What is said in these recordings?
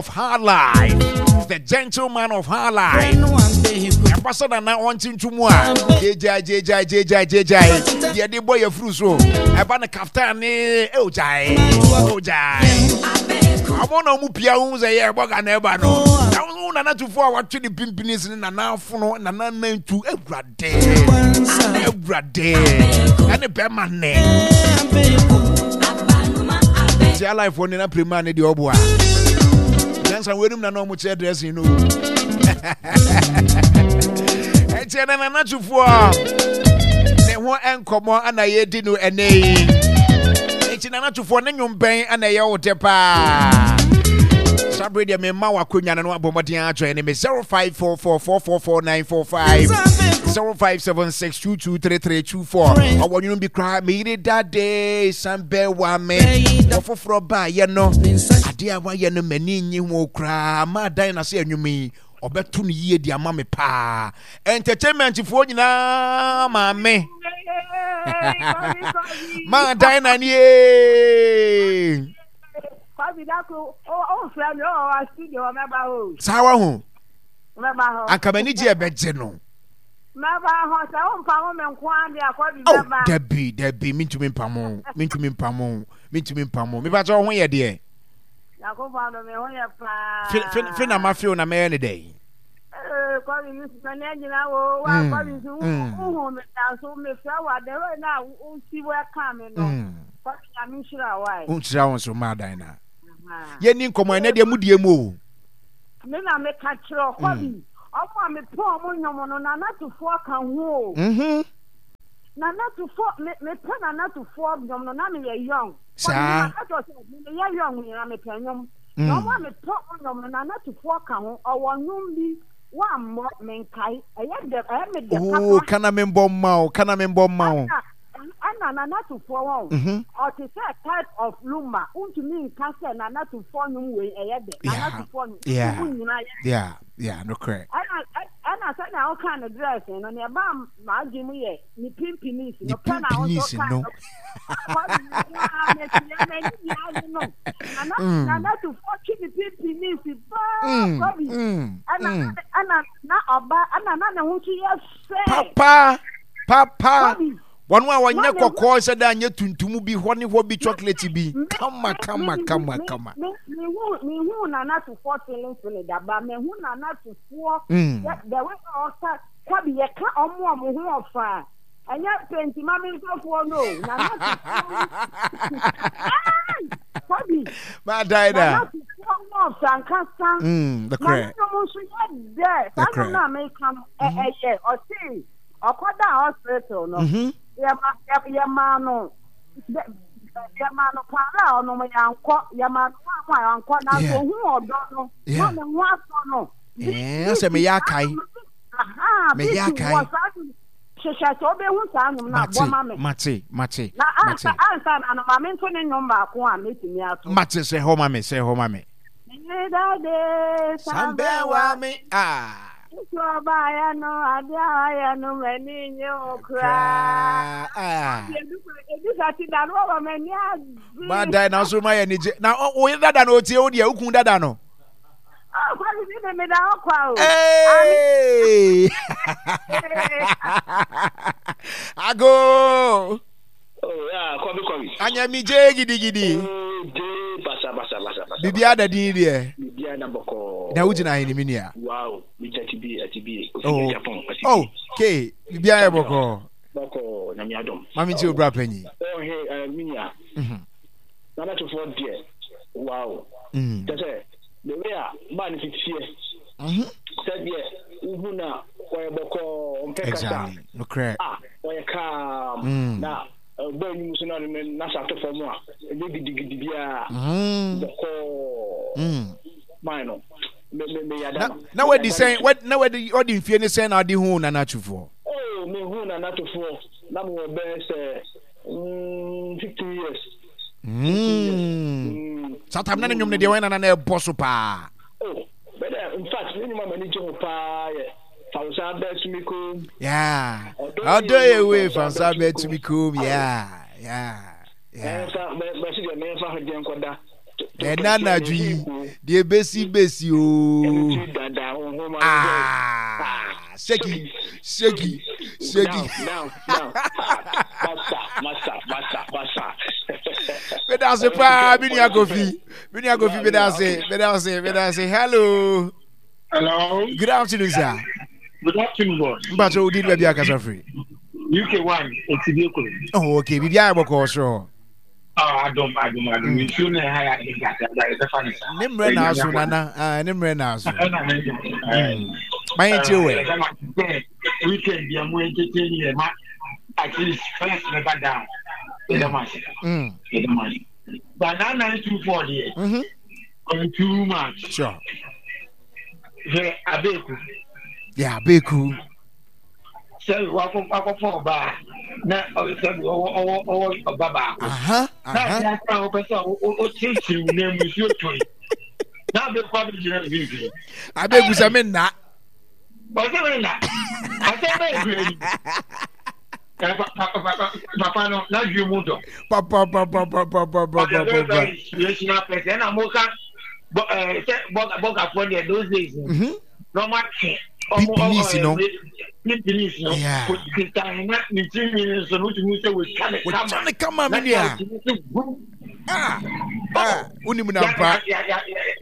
Of her life, the gentleman of her life. Ɛba sɛ nana ɔnte nto mu a, gyegyae gyegyae gyegyae gyegyae. Deɛ de bɔ yɛ furu so. Ɛba no kaftan ne ɛogyae ɛogyae. Ɔmo na ɔmo pia ho sɛ yɛ ɛbɔ ga na ɛba no. Na wo nana tufo a watwe ne pimpini sene nana afono nana nantu awurade awurade ɛne bɛrima nne. Ti alive wɔ ne na prema ne deɛ ɔboa. Nansa wɔnum na na ɔmo kyerɛ dressing no. Ɛnti ɛna nana tufoɔ ne ho nkɔmɔ ana yɛdi no ɛnɛ yi. Ɛnti nana tufoɔ ne nwom bɛn ana ɛyɛ wo dɛ paa. Saa bere deɛ mema w'akonnwa no na wabɔ mmɔden adwene ne me 0544444945 0576223324 ɔwɔ nwom bi koraa meyere dade san bɛɛ wa me ɔfoforɔ baayɛ no adeɛ a wayɛ no m'ani nnye ho koraa ma adan na sɛ anwom yi ɔbɛto no yie de ama me paa entertainment foɔ nyinaa maame ma adan na nie saa wa ho anka m'ani gye ɛbɛgye no oh dabi dabi mentumi mpamo mentumi mpamo mentumi mpamo mepa kyɛ wo ho yɛ deɛ fe na mafew na mɛyɛ ne dɛn wonhyira wo nso ma adan na yɛni nkɔmmɔ ɛnɛ deɛ mudie mu o me na meka kyerɛ ɔkɔ bi mm. ɔmo a mepɛ ɔmo nnwom no nanatofoɔ ka ho o mhm. nanatofoɔ me mepɛ nanatofoɔ nnwom no na meyɛ young saa meyɛ young nyina mepɛ nnwom mm. na ɔmo a mepɛ ɔmo nnwom no nanatofoɔ ka ho ɔwɔ nnwom bi wammɔ menkae ɛyɛ dɛ ɛyɛ me dɛ papa oo kana membɔ mma o kana membɔ mma o Ɛna Nana Tufoɔ wɔn mhm. ɔte sɛ type of lumba wontumi nka sɛ Nana Tufoɔ nnwom wei ɛyɛ dɛ Nana Tufoɔ nnwom mu nyinaa yɛ yeah yeah nokorɛ ɛna ɛna sɛnea woka ne dress no nea ɛbaa m'adwene mu yɛ ne pimpinisi no pɛ na wo nso ka no Nana Tufoɔ twe ne pimpinisi paa kwabi ɛna ɛna na ɔba ɛna na ne ho nso yɛ fɛ papa papa wɔn a wɔnyɛ kɔkɔɔ sɛ dɛ anyɛ tuntum bi hɔ ne hɔ bi chocolate bi kama kama kama kama. mehu nana tufoɔ feeling feeling daba mehu nana tufoɔ mm. the way ɔka kwabi yɛka ɔmo ɔmo ho ɔfa ɛnyɛ penti ma me nkurɔfoɔ no nana tufoɔ kwabi maadae da nana tufoɔ ho ɔfa nkasa mm, na ne nom nso yɛ dɛ saa nom no a meka no ɛyɛ ɔse ɔkɔdaa hospital no mhm. yɛmaa no yɛmaa no paara a ɔnom yɛankɔ yɛmaa no wa a yɛankɔ nanso ohun ɔdɔ no na ne ho asɔ no. ɛɛ sɛ meyɛ akae meyɛ akae hwehwɛ sɛ wobɛhu saa nnwom no abɔ ma me mate mate na ansa ansa na no ma me nto ne nnwom baako a mɛtumi ato mate sɛ hɔ ma me sɛ hɔ ma me Medade sambɛwa me ah Nti ɔbaeɛ no, adeɛ a wayɛ no m'ani nnye ho koraa. Ebi sa ti da no wɔ m'ani agye. Madae na nso mayɛ anigye. Na wo yere dada no otie wo deɛ, wo kun dada no. Oh, kwasi bi de meda hɔ kwa o. Hey! Ago! Oh, yeah, kwabi kwabi. Anyamigye gidigidi. Oh, de basa basa basa basa. Bibia da din deɛ. Bibia da bɔkɔɔ. Na wogyina he ne me nua? Wow, megyina tibi atibi. Kofi Oh, Japan atibi. oh, ke bibia yɛ bɔkɔɔ. Bɔkɔɔ, nyame adom. Mame ntie obra panyin. Oh, he, eh, me nua. Mhm. Nana Tufoɔ deɛ, wow. Mm. Kyɛ sɛ, the way a maa ne si teɛ. Mhm. Sɛdeɛ wohu na ɔyɛ bɔkɔɔ, ɔmpɛ kasa. Exactly. Nokorɛ. Ah, ɔyɛ calm. Mm. Na ɔbɔ anim so na ne nasa ato fam a, ɛnyɛ gidigidi biara. Mm. Bɔkɔɔ. Mm. Man no, me me me yada Na no. na Me wadi yada sɛn no. wadi na wadi ɔdi mfie ne sɛn na ɔde hu Nana Tufoɔ? Oh, me hu Nana Tufoɔ na me wɔ bɛyɛ sɛ 15 years. 15 years. Mm. Mm. Saa time na ne nnwom no deɛ wɔn nana na ɛbɔ so paa. Oh, bɛdɛ in fact ne nnwom a m'ani gye ho paa yɛ Fansa bɛtumi kom. Yeah. Ɔdɔ Ɔdɔ yɛ yɛ wei wei fansa fansa bɛtumi bɛtumi kom. kom. Yeah. Yeah. Yeah. Ɛnfa bɛsi deɛ mɛnfa ho deɛ nkɔda. Ɛna anadwo yi, deɛ ebesi besi ooo. Ah, sheki, sheki, sheki. Meda ase paa, me nua Kofi. Me nua Kofi, meda ase, meda ase, meda ase. Hello. Hello. Good afternoon, sir. Good afternoon, boss. Mpatsɔ odi baabi akasa firi. UK one, etibie kuro. Oh, okay. Biribi ayɛ bɔkɔɔ soro hɔ. Ah, adom, adom, adom. Mm. Nsuo na ɛha yɛ ade nkasa, ba yɛbɛfa ne saa. Ne mmerɛ na aso, nana. Ah, ne mmerɛ na aso. Ɛna ne nka. Mm. Ma yɛn tie wɛ. Weekend bi a mo entertain yɛ ma at least first never down. Yɛda mo ase. Yɛda mo ase. But 9924 deɛ. Mm-hmm. Ɔyɛ too much. Sure. Hwɛ abeeku. Yeah, abeeku. Sɛ wakɔ wakɔfɔ ɔbaa na sɛ ɔwɔ ɔwɔ ɔwɔ ɔba baako. Na ɛyɛ asa a wɔpɛ sɛ ɔkyerɛkyerɛ mu na mu nsuo tɔ yi. Na abeeku abɛgyina mfimfini. Abeeku sɛ me nna. Ɔsɛ me nna. Asɛm bɛyɛ kura yi. Papa no n'adwene mu dɔ. Papa papa papa papa papa. Ɔyɛ very inspirational person ɛna mo ka bɔ ɛɛ sɛ bɔgafoɔ deɛ those days. Mhm. Na ɔmo atwe. Police no. Police no. Kita na ne ti nwi nso no tumi sɛ wotwa ne kama. Wotwa ne kama mi nua. Ah ah wonim na mpa.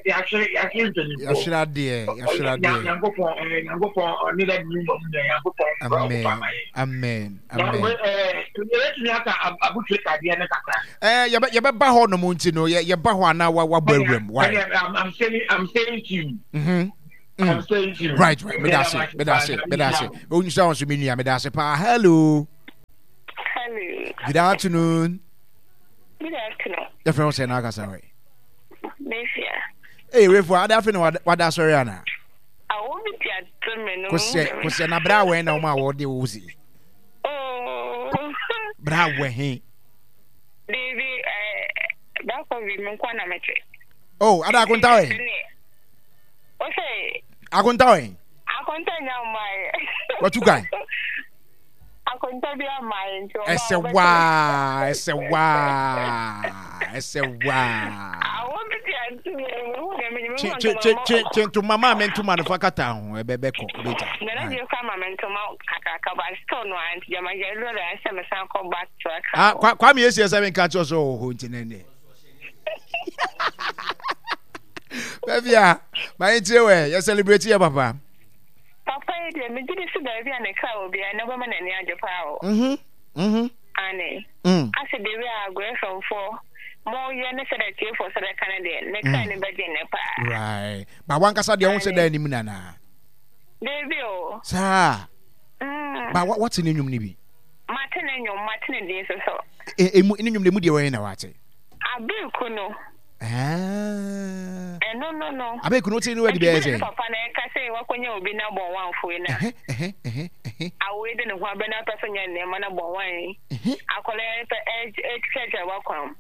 Yɛahwere yɛahwere mpanyinfoɔ. Yɛahwere adeɛ yɛahwere adeɛ. Nyankopɔn ɛɛ Nyankopɔn ɔne dɛ ne mu nyɛ Nyankopɔn. Amen amen amen. Yɛbɛtumi aka abotire kadeɛ no kakra. Ɛɛ yɛbɛ yɛbɛba hɔ nom nti no yɛ yɛba hɔ anaa wa wabɔ awuram. Why? I'm saying I'm saying to you. Mm-hmm. I'm saying to you. Right right medase medase medase. Onyisa wɔn so mi nua medase paa hello. Hello. Good afternoon. Good afternoon. Yɛfrɛ wo sɛ na akasa wɛ. Mefia. Ee wefo ada afe na wada asɔre ana? Awo bi ti ato me no. Kosɛ kosɛ na bra wɛn na wɔn a wɔde wo si. Oh. Bra wɛ he. Deebi ɛɛ baako bi me nkwa na mete. Oh ada akonta wɛ. Ose. Akonta wɛ. Akonta nya mmae. Watu kan. Akonta bi amae nti ɔba Ɛsɛ waa ɛsɛ waa ɛsɛ waa. Awo bi ti ante mi hu dɛ mi Kye kye kye kye kye ntoma maa me ntoma no fa kata ho ɛbɛ bɛ kɔ ɛbɛ gya. Nana bi kɔ ama me ntoma kakraka ba store no anti gyama gya ɛduro dɛ ɛsɛ me san kɔ back to Accra. Ah kwa kwa mi esi ɛsɛ mi nka kyerɛ sɛ ɔwɔ hɔ nti ne ne. Baabi a ma yɛn tie wɛ yɛ celebrate yɛ papa. Papa yi deɛ, megye di sɛ baabi a ne kra wɔ biara, ɛnnɛ wobɛma n'ani agye paa o. Mhm, mhm. Aane. Mm. Ase the way a Agorɛfɛmfoɔ mo yɛ ne sɛdeɛ atiefoɔ sɛ bɛka no deɛ, ne kra ani bɛgye nnɛ paa. Right. Ba wankasa deɛ wo sɛ Aane. da anim nana. Dabi o. Saa. Mm. Ba wate ne nnwom no bi? Mate ne nnwom, mate ne din nso so. E, emu, ne nnwom no emu deɛ wɔyɛ na wate? Abereku no. Ah. Ɛno no no. Abereku no wote no wadi bɛyɛ sɛ. Papa na ɛka sɛ wakɔnya obi na bɔn wanfo yi na. Awoe de ne ho abɛ na apɛ so nyɛ nneɛma na bɔn wan yi. Akɔla ɛpɛ ɛkyerɛkyerɛ wakwan mu.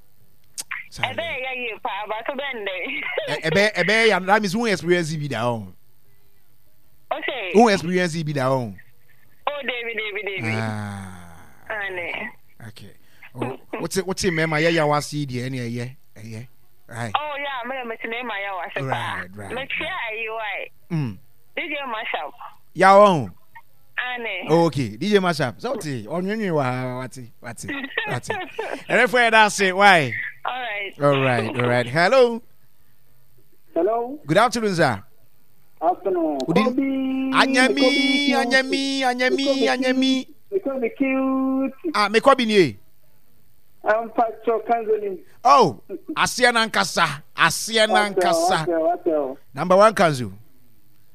Ɛbɛyɛ ya yie paa bato bɛn dɛ. Ɛbɛyɛ ɛbɛyɛ ya that means won experience bi da ɔn. Ose. Won experience bi da ɔn. Oh David David David. Ah. Ane. Okay. Wote wote mmarima yɛ yaw ase yi deɛ ɛne ɛyɛ ɛyɛ right. Oh yeah, me mete mmarima yaw ase paa. Right right. Mekyia ayi wai. Mm. DJ Mashup. Yaw ɔn. Ane. Oh, okay DJ Mashup sɛ wote ɔnwenwen wɔ ha wate wate wate. Ɛrɛfo yɛ da ase why. All right. All right all right hello. Hello. Good afternoon sir. Afternoon. Kobi. Anyami anyami anyami anyami. Mekɔ bi cute. Ah, mekɔ bi nie. Mpatsɔ kanzoni. Oh, aseɛ nankasa, aseɛ nankasa. Number one kanzo.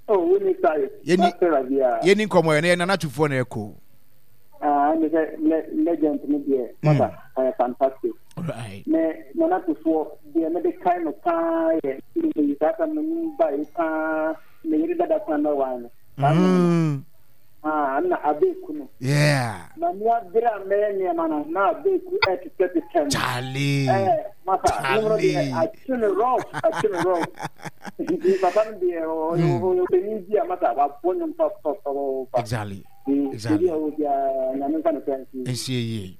Oh, we need sorry. Yɛni yɛni nkɔmɔ yɛ na yɛ nana tufoɔ na ɛkɔ. Ah, ɛni sɛ legend ni deɛ, maba, ɔyɛ fantastic. Right. Me nana tufoɔ deɛ mede kae no paa yɛ, yi saa tam no mu ba yi paa, me yere dada kwan na wan no. Mm. Ah, na abeku no. Yeah. Na ni abere a mɛyɛ nneɛma no, na abeku ɛtetɛtetɛ no. Charlie. Eh, masa, nwom no deɛ, akye no rough, akye no rough. Nti papa no deɛ, ɔyɛ ɔyɛ ɔpanin bi a masa, wabɔ nwom papapapapa. Exactly. Exactly. Nsie yie.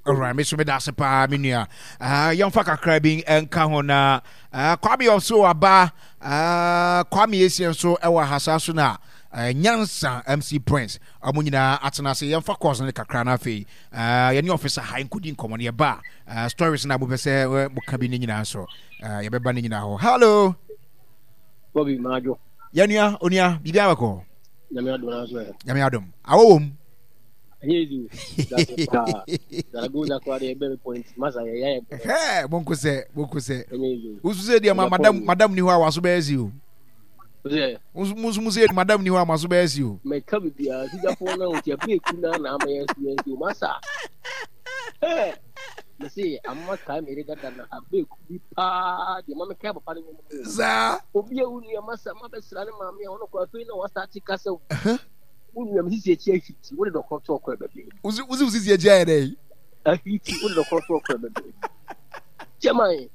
Alright, me so me da ase paa me nua. Ah, yɛmfa kakra bi nka ho na ah, Kwame ɔso aba ah, Kwame Esie nso ɛwɔ ahasa so na ah, Nyansa MC Prince ɔmo nyinaa atena ase yɛmfa course no kakra na afei ah, yɛne officer ha nkɔdi nkɔmmɔ no yɛba ah, stories na mopɛ sɛ eh, moka bi ne nyinaa nso ah, yɛbɛba ne nyinaa hɔ. Hello. Bobby Majo. Yɛnua onua biribi abɛkɔ. Nyame adom na so ɛ. Nyame adom. Awɔ wɔ mu. Ɛnyɛ easy o. That's paa. Zaragoza koraa deɛ ɛbɛn point. Masa yɛ yɛ. Hɛɛ monko sɛ monko sɛ. Ɛnyɛ easy o. Wosu sɛ deɛ ma madam madam ni hɔ a waso bɛyɛ si o. Sɛ. Mo nso mo sɛ madam ni hɔ a maso bɛyɛ si o. Mɛka biribiara sigyafoɔ no nti ɛbɛn eku na na ama yɛn si yɛn si o masa. Hɛɛ. Mese ama kae mere dada na abeku bi paa deɛ ma mekae papa no nwom no. Saa. Obi a wo nua masa ma bɛsra ne maame a ɔno kɔ afei na wasate kasa wo. Wo nua me sisi akyi ahiti wo de dɔkorɔ to ɔkɔ ɛbɛbɛ. Wosi wosi wo sisi akyi ayɛ dɛ. Ahiti wo de dɔkorɔ to ɔkɔ ɛbɛbɛ. Kyɛman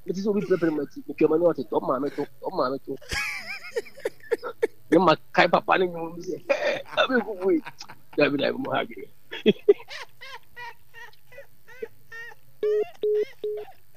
mete sɛ obi pɛrɛpɛrɛ mu akyi metwa m'ani ɔte tɔ maame to tɔ maame to. Ne ma kae papa no nwom bi sɛ hɛɛ abeku bui. Dabi dabi mo ha adwene.